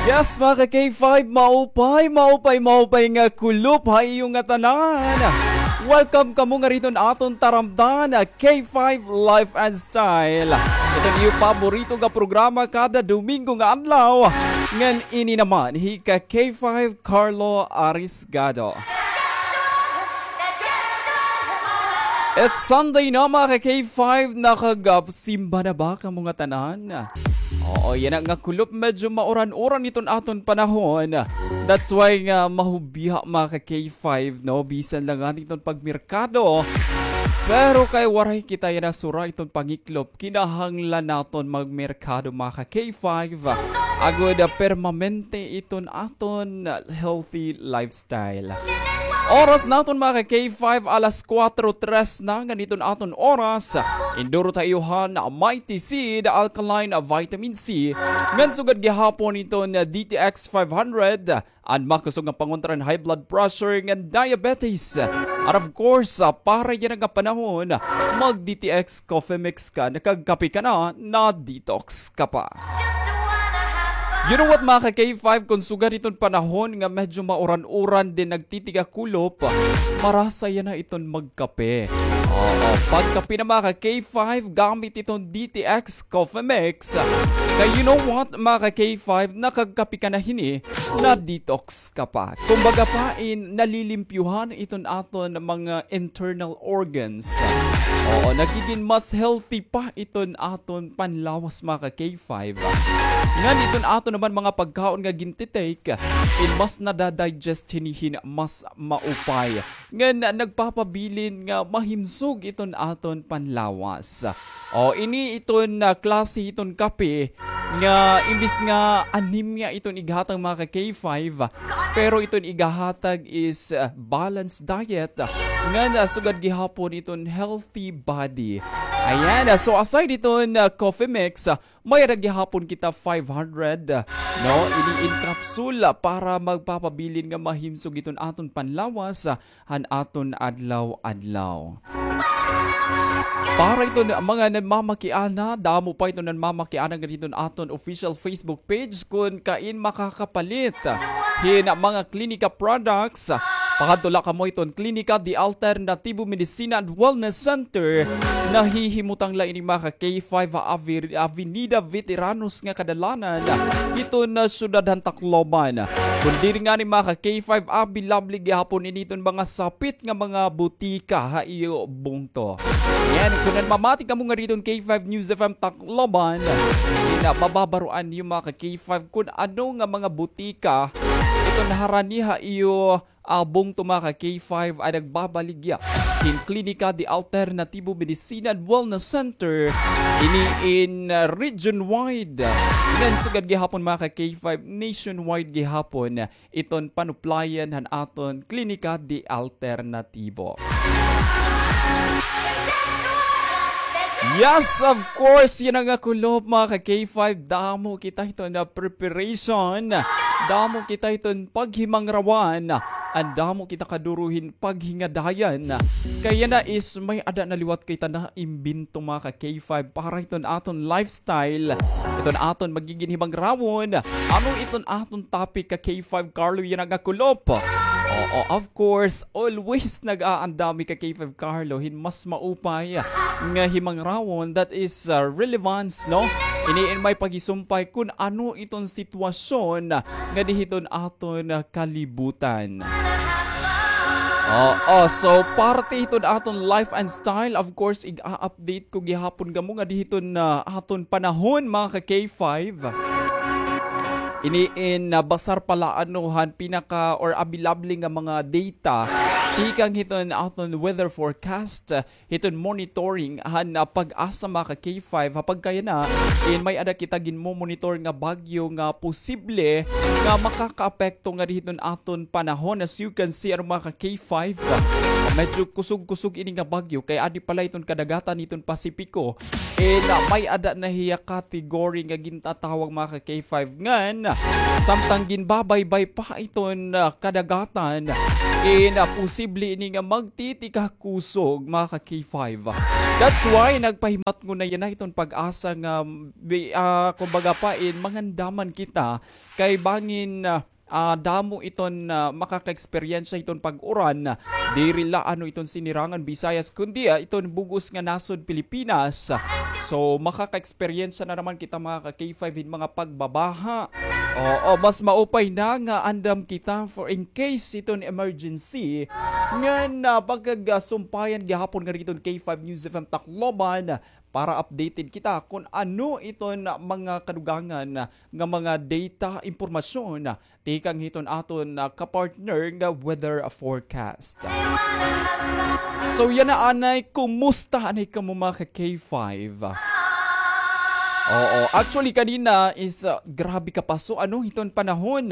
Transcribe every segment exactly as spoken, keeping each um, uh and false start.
Yes, mga ka K five, maupay, maupay, maupay nga kulop ha iyo ngatanan. Welcome kamo ngadi hiton aton taramdan, K five Life and Style. Iton iyo paborito nga programa kada Domingo nga adlaw. Ngan ini naman hi ka K five Carlo Arisgado. It's Sunday na, mga ka K five, nakagsimba na ba kamo ngatanan? Oo, yana nga kulop, medyo mauran-uran iton aton panahon. That's why nga mahubiha, mga ka K five, no? Bisan la ngani iton pagmerkado. Pero kay waray kita yana sura iton pangiklop, kinahanglan naton magmerkado, mga ka K five. Agod, ah, permanente iton aton healthy lifestyle. Oras naton, mga ka K five, alas kuwatro tres na, ngan iton aton oras. Indurot ha iyo han Mighty Seed Alkaline Vitamin C, ngan sugad gihapon iton D T X five hundred, an makusog nga pangontra han high blood pressure ngan diabetes. And of course, ah, para yana nga panahon, mag D T X Coffee Mix ka, nakagkape ka na, na-detox ka pa. You know what, mga ka K five, kon sugad iton panahon nga medyo mauran-uran, then nagtitiga kulop, marasa yana iton magkape. Oo, pagkape na, mga ka K five, gamit iton D T X Coffee Mix. Kay you know what, mga ka K five, nakagkape ka na hini, na-detox ka pa. Kumbaga pa, in, nalilimpyuhan iton aton mga internal organs. Oo, nagigin mas healthy pa iton aton panlawas, mga ka K five. Ngan iton aton naman mga pagkaon nga gintitake, in, mas nadadigest hini hin mas maupay. Ngan nagpapabilin nga mahimsog iton aton panlawas. O, ini iton, ah, klase iton kape nga imbis nga anemia iton ighatag, mga ka K five, pero iton igahatag is, ah, balanced diet, ngan, ah, sugad gihapon iton healthy body. Ayan, ah, so aside iton, ah, coffee mix, ah, may-ada gihapon kita five hundred, ah, no, ini in capsule, ah, para magpapabilin nga mahimsog iton aton panlawas, ah, han aton adlaw-adlaw. Para iton mga nanmamakiana, damo pa iton nanmamakiana ngadi hiton aton official Facebook page, kon kain makakapalit hin mga Klinika products, pakadto la kamo hiton Klinika de Alternativo Medicina and Wellness Center. Nahihimutang la ini, mga ka K five, ha Avi-, Avenida Veteranos nga kadalanan hiton, ah, syudad han Tacloban. Kon diri ngani, mga ka K five, available gihapon ini hiton mga sapit nga mga butika ha iyo bungto. Ngan, kon nanmamati kamo ngadi hiton K five News F M Tacloban, ina, mababaroan niyo, mga ka K five, kon ano nga mga butika iton harani ha iyo, ah, bungto, mga ka K five, an nagbabaligya hin Klinika de Alternativo Medicina and Wellness Center. Ini in, ah, region wide. Ngan sugad gihapon, mga ka K five, nationwide gihapon iton panuplayan han aton Klinika de Alternativo. Yes, of course, yana nga kulop, mga ka K five, damo kita hiton preparation, damo kita hiton paghimangrawan, an damo kita kaduro hin paghingadayan. Kay yana is may-ada na liwat kita naimbento, mga ka K five, para hiton aton lifestyle, iton aton magigin himangrawon. Ano iton aton topic, ka K five Carlo, yana nga kulop? Oo, of course, always nag-aandam hi ka K five Carlo hin mas maupay nga himangrawon, that is, uh, relevance, no? Ini in may paghisumpay kon ano iton sitwasyon ngadi hiton aton kalibutan. Oo, so parte hiton aton life and style, of course, ig-a-update ko gihapon kamo ngadi hiton, ah, aton panahon, mga ka K five. Ini in, ah, basar pa la ano han pinaka or available nga mga data tikang hiton aton weather forecast, hiton monitoring han, ah, PAGASA, mga ka K five, ha pagkayana, in may-ada kita ginmo-monitor nga bagyo nga posible nga makakaapekto ngadi hiton aton panahon. As you can see, ano, mga ka K five, ah, medyo kusog-kusog ini nga bagyo, kay adi pa la hiton kadagatan hiton Pasipiko, in, ah, may-ada na hiya category nga gintatawag, mga ka K five, ngan Samtang ginbabaybay pa iton, ah, kadagatan, in, ah, posible ini nga magtitikak kusog, mga ka-K five. That's why nagpahimatngon na yana iton PAGASA nga, bi-, ah, kumbaga pa in mangandaman kita kay bangin, ah, ah, damo iton, ah, makaka-eksperyensya hiton pag-uran. Diri la ano iton Sinirangan Visayas, kundi, ah, iton bug-os nga nasod Pilipinas. So, makaka-eksperyensya na naman kita, mga ka-K five, hin mga pagbabaha. Oo, mas maupay na nga andam kita for in case iton emergency. Ngan, ah, pagkagasumpayan gihapon nga didto hin K five News F M Tacloban para updated kita kun ano iton mga kadugangan nga mga data, impormasyon tikang hiton aton, ah, kapartner nga weather forecast. So, yana anay, kumusta anay kamo, mga ka-K five? Oo, actually, kanina is, ah, grabe kapaso, ano, hiton panahon.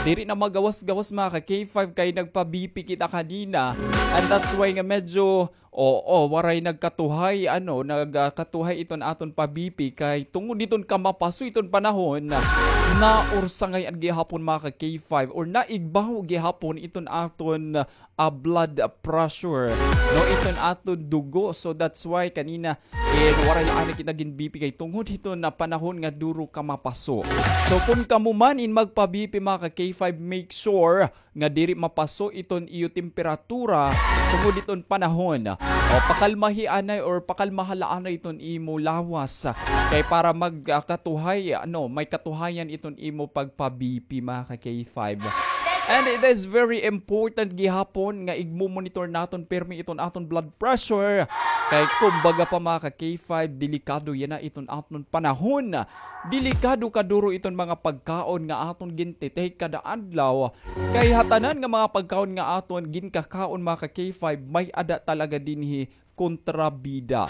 Diri na magawas-gawas, mga ka-K five, kay nagpa-B P kita kanina. And that's why nga medyo Oo, waray nagkatuhay, ano, nag, ah, katuhay iton aton pa-B P kay tungod iton kamapaso iton panahon, naursangay-an gihapon, mga ka-K five, or naigbaw gihapon iton aton, ah, blood pressure, no, iton aton dugo. So that's why kanina, eh, waray la anay kita gin-B P kay tungod hiton panahon nga duro kamapaso. So kun kamo man in magpa-B P, mga ka-K five, make sure nga diri mapaso iton iyo temperatura tungod iton panahon. O, pakalmahi anay or pakalmaha la anay iton imo lawas. Kay para mag, ah, katuhay, ano, may katuhayan iton imo pagpa-B P, mga ka-K five. And it is very important gihapon nga igmo-monitor naton pirmi iton aton blood pressure. Kay kumbaga pa, mga ka-K five, delikado yana iton aton panahon. Delikado kaduro iton mga pagkaon nga aton gintitake kada adlaw. Kay ha tanan nga mga pagkaon nga aton ginkakaon, mga ka-K five, may-ada talaga dinhi kontrabida.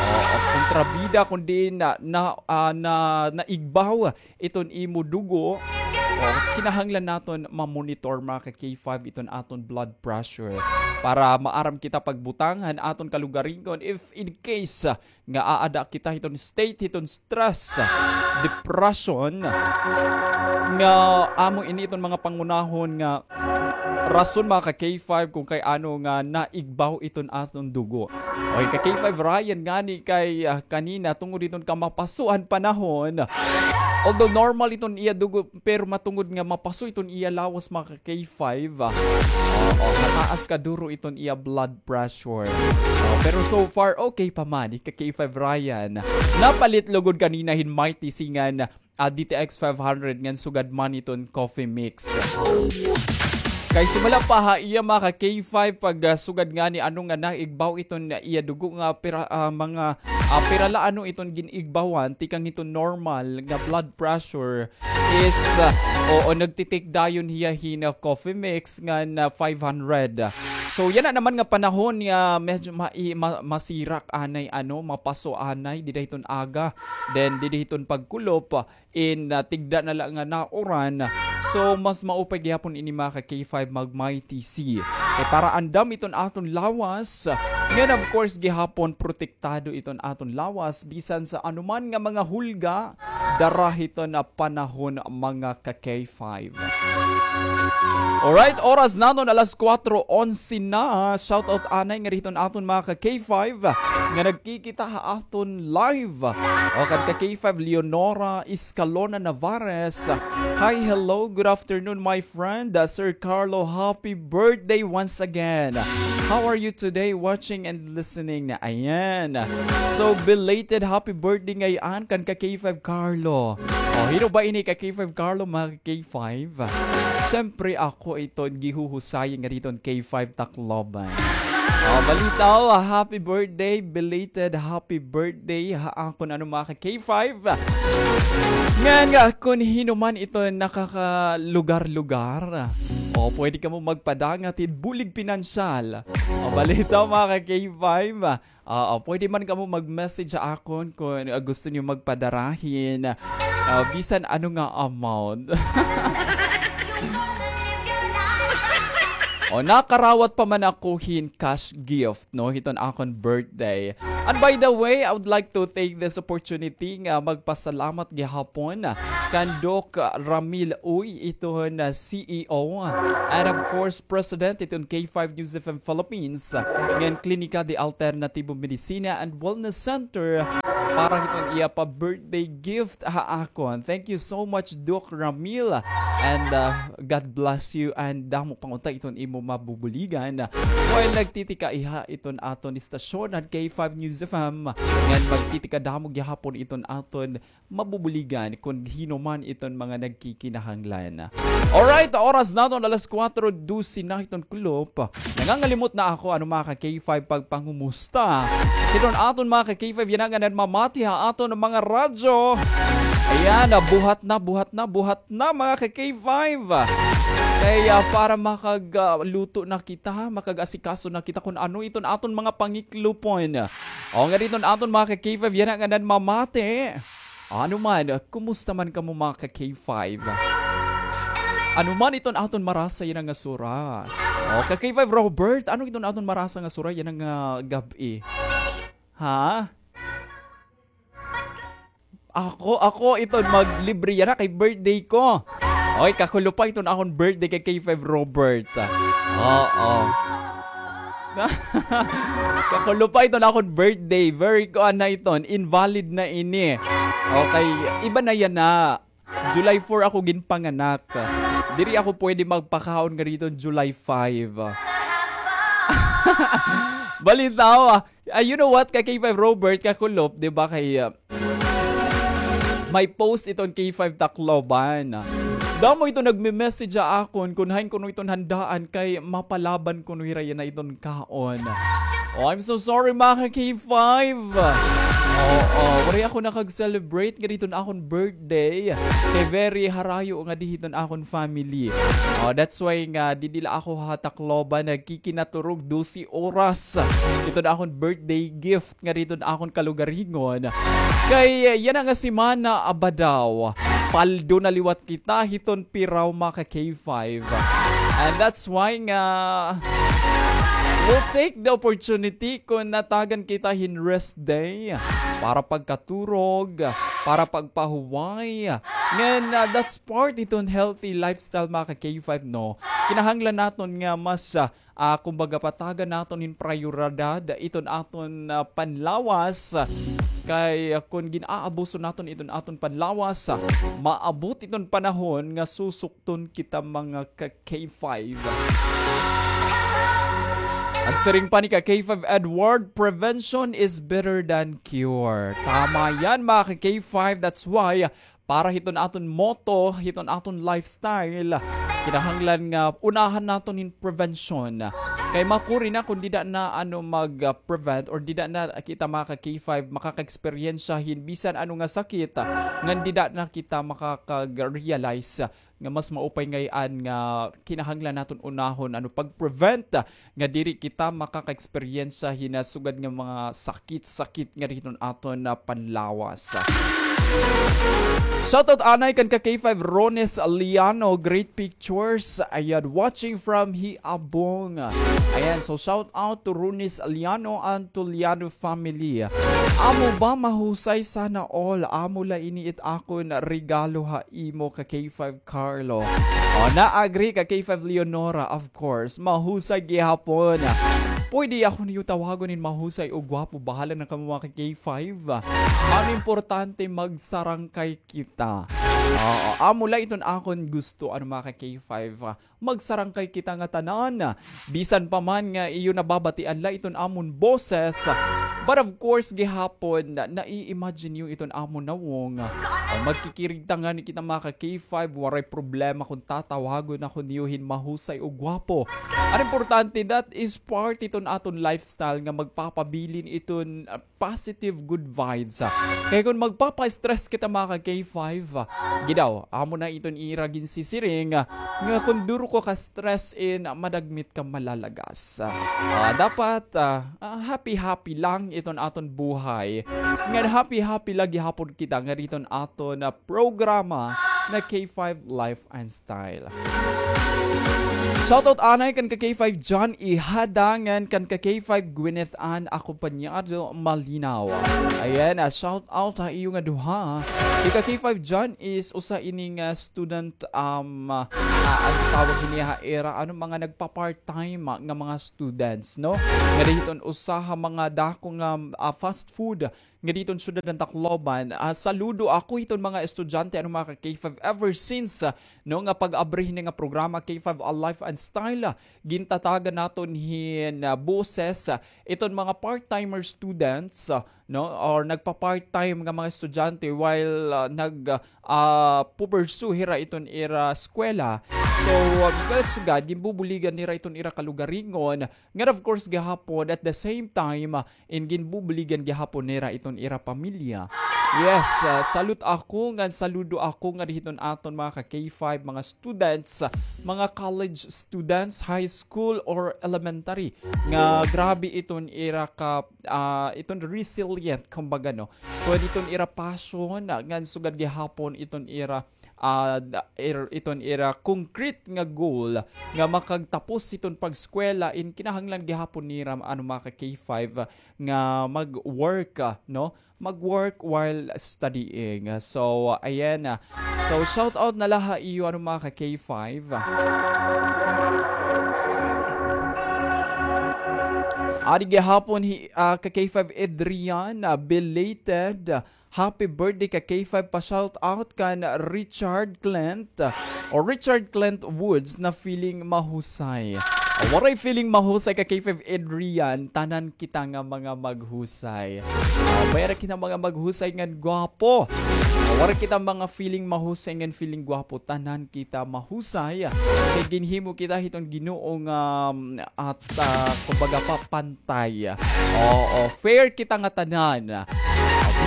Oo, kontrabida kun diin na, na, ah, na, naigbaw iton imo dugo. O, kinahanglan naton ma-monitor, mga ka-K five, iton aton blood pressure para maaram kita pagbutang han aton kalugaringon if in case, ah, nga aada kita hiton state hiton stress, depression, nga amo ini iton mga pangunahon nga rason, mga ka-K five, kun kay ano nga naigbaw iton aton dugo. Okay, ka-K five Ryan, ngani kay, ah, kanina tungod iton kamapaso han panahon, although normal iton iya dugo, pero matungod nga mapaso iton iya lawas, mga ka-K five, ah, oo, nataas kaduro iton iya blood pressure. Oh, pero so far, okay pa man, ika-K five Ryan. Napalit lugod kanina hin Mighty C ngan, ah, D T X five hundred ngan sugad man iton coffee mix. Kay sumala pa ha iya, mga ka-K five, pag, ah, sugad ngani ano nga naigbaw iton iya dugo nga pira, ah, mga, ah, pira la ano iton gin-igbawan, tikang iton normal nga blood pressure is, ah, oo, nagti-take dayon hiya hin, ah, coffee mix ngan, ah, five hundred. So, yana naman nga panahon nga medyo ma-, i-, ma-, masirak anay, ano, mapaso anay, dida hiton aga. Then, dida hiton pagkulop, in, ah, tigda na la nga nauran. So, mas maupay gihapon ini, mga ka-K five, mag-Mighty C. Kay para andam iton aton lawas. Ngan, of course, gihapon, protektado iton aton lawas bisan sa anuman nga mga hulga dara hiton panahon, mga ka-K five. Alright, oras naton alas kuwatro onse na. Shoutout anay ngadi hiton aton mga ka-K five nga nagkikita ha aton live. O, kan ka-K five Leonora Escalona Navarez. Hi, hello, good afternoon, my friend. Uh, Sir Carlo, happy birthday once again. How are you today? Watching and listening na. Ayan. So, belated happy birthday ngay-an kan ka-K five Carlo. O, hin-o ba ini ka-K five Carlo, mga ka-K five? Siyempre, ako iton gihuhusay ngadi hiton K five Tacloban. O, balitaw, happy birthday, belated happy birthday ha akon, ano, mga ka-K five. Ngan, ah, kun hin-o man iton nakakalugar-lugar, o, pwede kamo magpadangat hin bulig pinansyal. O, balitaw, mga ka-K five. Oo, pwede man kamo mag-message ha akon kun, ah, gusto niyo magpadara hin, ah, bisan ano nga amount. O, nakarawat pa man ako hin cash gift, no, hiton akon birthday. And by the way, I would like to take this opportunity nga magpasalamat gihapon kan Doc Ramil Uy, iton, ah, C E O, and of course, President iton K five News F M Philippines, ngan Klinika de Alternativo Medicina and Wellness Center para hiton iya pa birthday gift ha akon. Thank you so much, Doc Ramil, and, ah, God bless you, and damo pa unta iton imo mabubuligan while nagtitika iha iton aton istasyon han K five News F M, ngan magtitika damo gihapon iton aton mabubuligan kon hin-o man iton mga nagkikinahanglan. Alright, oras naton alas kuwatro dose na hiton kulop. Nangangalimot na ako, ano, mga ka K five, pagpangumusta hiton aton mga ka K five yana nga nanmamati ha aton mga radyo. Ayan, ah, buhat na, buhat na, buhat na, mga ka K five. Kay, ah, para makag, ah, luto na kita, makag-asikaso na kita kon ano iton aton mga pangiklopon. O, nga diton aton mga ka K five yana nga nanmamati. Ano man, kumusta man kamo, mga ka K five? Ano man iton aton marasa yana nga sura? O, ka K five Robert, ano iton aton marasa nga sura yana nga gab-i? Ha? Ako, ako iton maglibre yana kay birthday ko. Oy, kakulop pa iton akon birthday kay K five Robert. Oo. Kakulop pa iton akon birthday. Very kuan na iton. Invalid na ini. Okay, iba na yana. July four ako ginpanganak. Diri ako pwede magpakaon nga diton July five. Balitaw, ah, ah, you know what, ka K five Robert, kakulop, di ba, kay, ah, may post iton K five Tacloban. Damo ito nagme-message ha akon kon hain kuno iton handaan kay mapalaban kuno hira yana iton kaon. Oh, I'm so sorry, mga ka K five. Oo, waray ako nakag-celebrate nga diton akon birthday. Kay very harayo nga di hiton akon family. Oh, that's why nga didi la ako ha Tacloban nagkikinaturog dose oras. Iton akon birthday gift nga diton akon kalugaringon. Kay, eh, yana nga semana, aba daw, paldo na liwat kita hiton piraw, mga ka K five. And that's why nga we'll take the opportunity kon natagan kita hin rest day para pagkaturog, para pagpahuway. Ngan, ah, that's part iton healthy lifestyle, mga ka K five, no? Kinahanglan naton nga mas, ah, ah, kumbaga, patagan naton hin prayoridad iton aton, ah, panlawas. Kay, ah, kon gin-aabuso naton iton aton panlawas, ah, maabot iton panahon nga susukton kita, mga ka K five. An siring pa ni ka K five Edward, "Prevention is better than cure." Tama yan, mga ka K five. That's why para hiton aton motto, hiton aton lifestyle, kinahanglan nga unahan naton hin prevention. Kay makuri na kon dida na, ano, mag, ah, prevent or dida na kita, mga ka K five, makaka-eksperyensya hin bisan ano nga sakit, ah, ngan dida na kita makakag-realize, ah, nga mas maupay ngay-an nga kinahanglan naton unahon, ano, pag-prevent, ah, nga diri kita makaka-eksperyensya hin, ah, sugad nga mga sakit-sakit nga diton aton, ah, panlawas. Shoutout anay kan ka K five Rones Liano, great pictures. Ayan, watching from Hiabong. Ayan, so shout out to Rones Liano and to Liano family. Amo ba mahusay, sana all. Amo la ini it akon regalo ha imo ka K five Carlo. O, na-agree ka K five Leonora, of course. Mahusay gihapon. Pwede ako niyo tawagon hin mahusay o gwapo. Bahala na kamo, mga ka K five. An importante, magsarangkay kita. Oo, amo la iton akon gusto, ano, mga ka K five. Magsarangkay kita ngatanan. Bisan pa man nga iyo nababatian la iton amon boses. But of course, gihapon, na-, nai-imagine niyo iton amon nawong. O, magkikirig ta ngani kita, mga ka K five, waray problema kon tatawagon ako niyo hin mahusay o gwapo. An importante, that is part iton aton lifestyle nga magpapabilin iton, ah, positive good vibes, ah. Kay kon magpapa-stress kita, mga ka K five, ah, gidaw, amo na iton ira ginsisiring, ah, nga kon duro ka ka-stress in, ah, madagmit ka malalagas. Ah, dapat, ah, ah, happy-happy lang iton aton buhay. Ngan happy-happy la gihapon kita nga diton aton, ah, programa na K five Life and Style. Shoutout anay kan ka K five John Ihada ngan kan ka K five Gwyneth Ann Acompañado Malinaw. Ayan, ah, shoutout ha iyo nga duha. Di ka K five John is usa ini nga student, um, ah, ah, ano tawag hini ha ira, ano, mga nagpa-part-time, ah, nga mga students, no? Nga dihiton usa ha mga dako nga, ah, fast food nga diton syudad han Tacloban. Ah, saludo ako hiton mga estudyante, ano, mga ka K five, ever since, ah, no, nga pag-abri hini nga programa, K five A Life and Style, ah, gintatagan naton hin, ah, boses, ah, iton mga part-timer students, ah, no, or nagpa-part-time nga mga estudyante while, ah, nag, ah, pupursue hira iton ira eskwela. So, ah, sugad, ginbubuligan nira iton ira kalugaringon, ngan of course gihapon, at the same time, ah, in ginbubuligan gihapon nira iton ira pamilya. Yes, ah, salute ako ngan saludo ako nga dihiton aton mga ka K five, mga students, ah, mga college students, high school or elementary, nga grabe iton ira ka, ah, iton resilient, kumbaga, no? Kun iton ira passion, ah, ngan sugad gihapon iton ira ah, da-, ir-, iton ira concrete nga goal nga makagtapos hiton pag-eskwela, in kinahanglan gihapon nira, ano, mga ka K five, ah, nga mag-work, ah, no? Mag-work while studying. So, ayan, ah. So, shout out na la ha iyo, ano, mga ka K five. Adi gihapon hi, ah, ka K five Adrian, ah, belated, ah, happy birthday ka K five, pa-shout out kan Richard Clint, o Richard Clint Woods na feeling mahusay. Waray feeling mahusay ka K five Adrian, tanan kita nga mga maghusay. Ah, may-ada kita mga maghusay ngan gwapo. Waray kita mga feeling mahusay ngan feeling gwapo, tanan kita mahusay. Kay ginhimo kita hiton Ginoo nga, um, at, ah, kumbaga pa, pantay. Oo, fair kita nga tanan. Ah,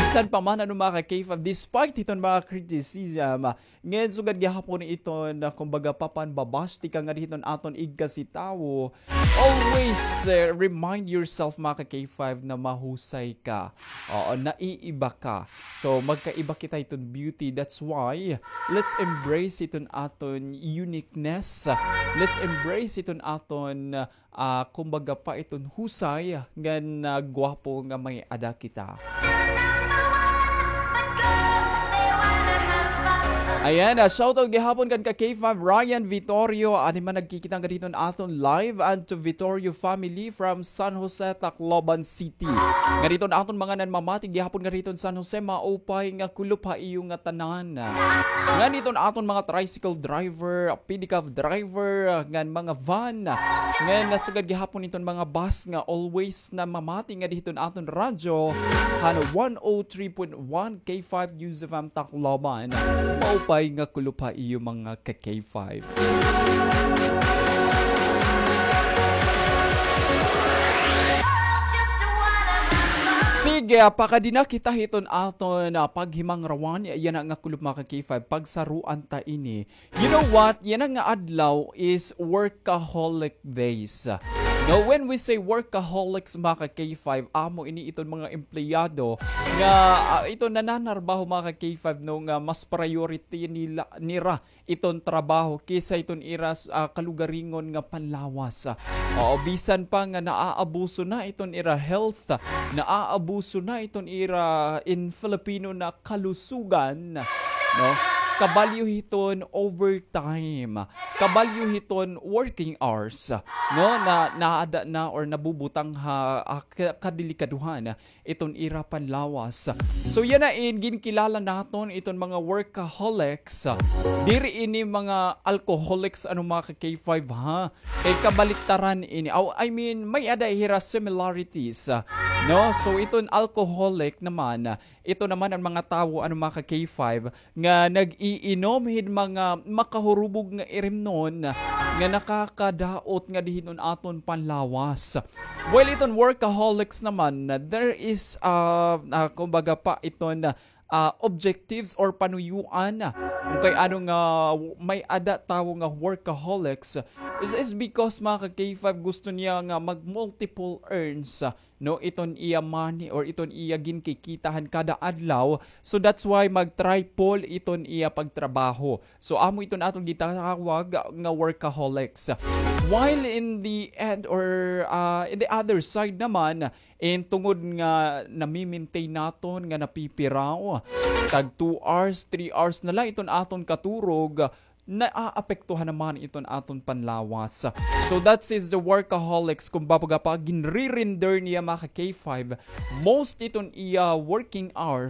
bisan pa man, ano, mga ka K five, despite hiton mga criticism, ah, ngan sugad gihapon iton, ah, kumbaga pa, panbabash tikang nga dihiton aton igkasi tawo, always, eh, remind yourself, mga ka K five, na mahusay ka. Oo, naiiba ka. So, magkaiba kita hiton beauty. That's why, let's embrace iton aton uniqueness. Let's embrace iton aton, ah, kumbaga pa, iton husay ngan, ah, gwapo nga may-ada kita. Ayan, ah, shoutout gihapon kan ka K five Ryan Vitorio. Ani man nagkikita nga diton aton live, and to Vitorio family from San Jose, Tacloban City. Nga diton aton mga nanmamati gihapon nga diton San Jose, maupay nga kulop ha iyo nga tanan. Ngan iton aton mga tricycle driver, pedicab driver, ngan mga van, ngan sugad gihapon iton mga bus nga always namamati nga dihiton aton radyo, han one oh three point one K five News F M Tacloban. Maupay nga kulop ha iyo mga ka K five. Sige, pakadi na kita hiton aton, ah, paghimangrawan. Yana nga kulop, mga ka K five, pagsaruan ta ini. You know what? Yana nga adlaw is workaholic days. No, when we say workaholics, mga ka K five, amo ini iton mga empleyado nga, ah, iton nananarbaho, mga ka K five, no, nga mas priority nila, nira iton trabaho kaysa iton ira, ah, kalugaringon nga panlawas. Oo, bisan pa nga naaabuso na iton ira health, naaabuso na iton ira, in Filipino, na kalusugan, no? Kabalyo hiton overtime, kabalyo hiton working hours, no? Na naada na or nabubutang ha, ah, ka-, kadelikadohan iton ira panlawas. So, yana in ginkilala naton iton mga workaholics. Diri ini mga alcoholics, ano, mga ka K five, ha? Kay kabaliktaran ini. Aw, I mean, may-ada hira similarities, no? So, iton alcoholic naman, ito naman an mga tawo, ano, mga ka K five, nga nag-iinom hin mga makahurubog nga irimnon nga nakakadaot nga dihiton aton panlawas. Well, iton workaholics naman, there is, ah, ah, kumbaga pa iton, ah, objectives or panuyuan. Kay ano nga may-ada tawo nga workaholics is, is because, mga ka-K five, gusto niya nga mag-multiple earns, no, iton iya money or iton iya ginkikitahan kada adlaw. So that's why mag-triple iton iya pagtrabaho. So amo iton aton gitawag nga workaholics. While in the end or, ah, in the other side naman, in tungod nga nami-maintain naton nga napipiraw, tag two hours, three hours na la iton aton katurog, naaapektuhan naman iton aton panlawas. So that is the workaholics, kumbaga pa, ginre-render niya, mga ka-K five, most iton iya working hours